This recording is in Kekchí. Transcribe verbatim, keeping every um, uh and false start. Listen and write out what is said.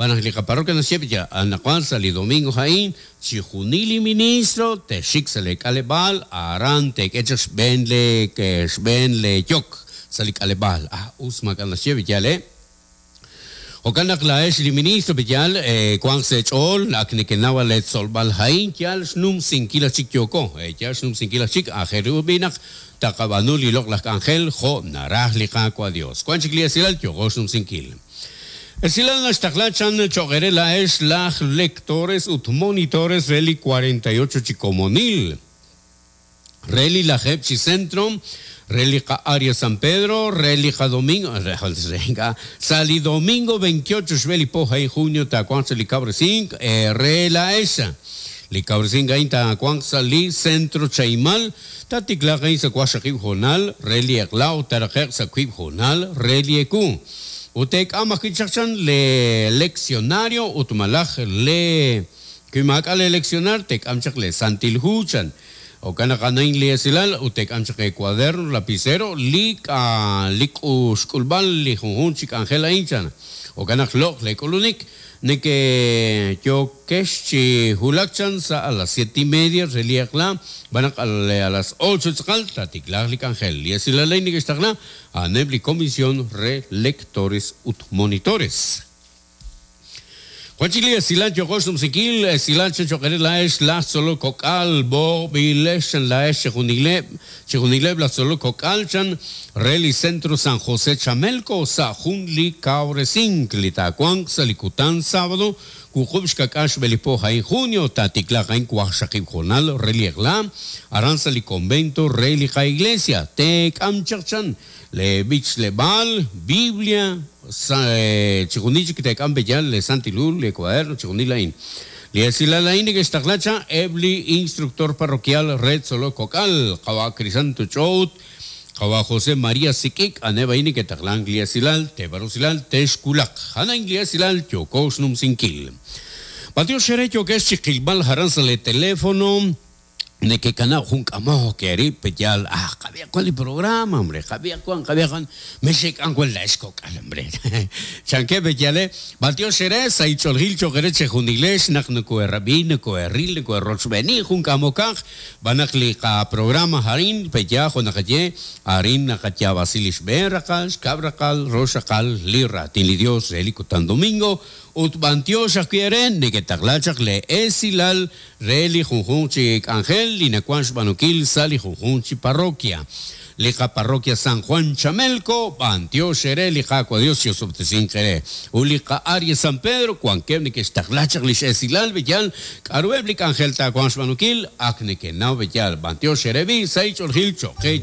B'anaq li qaparroquia naxye ya anaqwan sa' li domingo ha'in chijunil li ministro texik sa' le k'aleb'aal aran tek'e chaq xb'een le xb'een le yok sa' li k'aleb'aal. Ah, us maak'a' naxye b'iyal, eh. Jo'kan naq laa'ex li ministro b'iyal, eh, wanq sa' eech'ool ak nekenaw le tzolb'al ha'in yal xnumsinkil aj chik yooko, eh, yal xnumsinkil aj chik aajel ru b'i naq taqab'aanu li loq'laj k'anjel jo' naraj li Qaawa' Dios. Wan chik li esilal yooko xnumsinkil. Esilal naxtaqla chan cho'q ere laa'ex laj lectores ut monitores re li cuarenta y ocho chi komonil. Re li lajeeb' chi centro, re li qa área San Pedro, re li qa domingo, re, re, sa' li domingo veintiocho xb'e li po ha'in junio taawanq sa' li kawresink, eh, re laa'ex. Li kawresink ha'in taawanq sa' li centro Chaimal, tatiklaq ha'in sa' waqxaqib' jonal, re li eq'la' taraqe'q sa' wiib' jonal, re li eku. Ut teek'am ajwi' chaq chan le leccionario ut malaj le wi maak'a' le leccionar teek'am chaq le Santil Hu chan. Jo'kan naq anain li esilal ut teek'am chaq e cuaderno, lapicero, li k'a li k'uxk'ulb'al li junjun chi k'anjel a'in chan. Jo'kan naq loq' le k'ulunik neke yokex chi hulak chan sa' a las siete y media re li eq'la, b'anaq a las ocho tz'aqal tatiklaq li k'anjel. Li esilal a'in nekextaqla a'aneb' li comisión re lectores ut monitores. Wan chik li esilal yooko xnumsinkil, esilal chan cho'q ere laa'ex laj tzolok kok'al, b'oqb'ilex chan laa'ex chijunileb', chijunileb' laj tzolok kok'al chan re li Centro San José Chamelco sa' jun li kawresink li taawanq sa' li kutan sábado wuqub' xkak'al xb'e li po ha'in junio tatiklaq ha'in waqxaqib' jonal re li eq'la aran sa' li convento re li qa iglesia teek'am chaq chan le b'ichleb'aal, Biblia, sa, eh, chijunil chik teek'am b'eyal le Santil Hu, le cuaderno, chijunil a'in. Li esilal a'in nekextaqla cha eb' li instructor parroquial re tzolok kok'al, qawa' Crisanto Ch'out, qawa' José María Sik'ik, aneb' a'in neketaqlank li esilal, teebarusilal, texkulaq. A'an li esilal yooko xnumsinkil. B'antiox ere yokex chiqilb'al jaran sa' le teléfono, nekekana jun k'amok erib' peyal, ah, qab'ia kwan li programa, hombre, qab'ia kwan, qab'ia kwan, mexek'an kwan laa'ex kok'al, hombre. Chanke peyale, b'antiox ere sa' ich'oljil cho'q ere chejunilex naq nokoerab'i, nokoeril, nokoerrochb'eni jun k'amokaq, b'anaq li qa programa harin peya jo' naqaye, arin naqayab'asi li xb'een raqal, xkab' raqal, rox raqal, li raatin li Dios re li kutan domingo, ut b'antiox ajwi' ere neketaqla chaq le esilal re li junjunq chi k'anjel li nawan xb'aanunkil sa' li junjunq chi parroquia. Li qa parroquia San Juan Chamelco, b'antiox ere li Qaawa' Dios yosob'tesink ere. Ut li qa área San Pedro, wankeb' nekextaqla chaq li x'esilal b'eyal, k'aruheb' li k'anjel taawanq xb'aanunkil, ak nekenaw b'eyal, b'antiox ere b'i sa' ich'oljil cho'q qe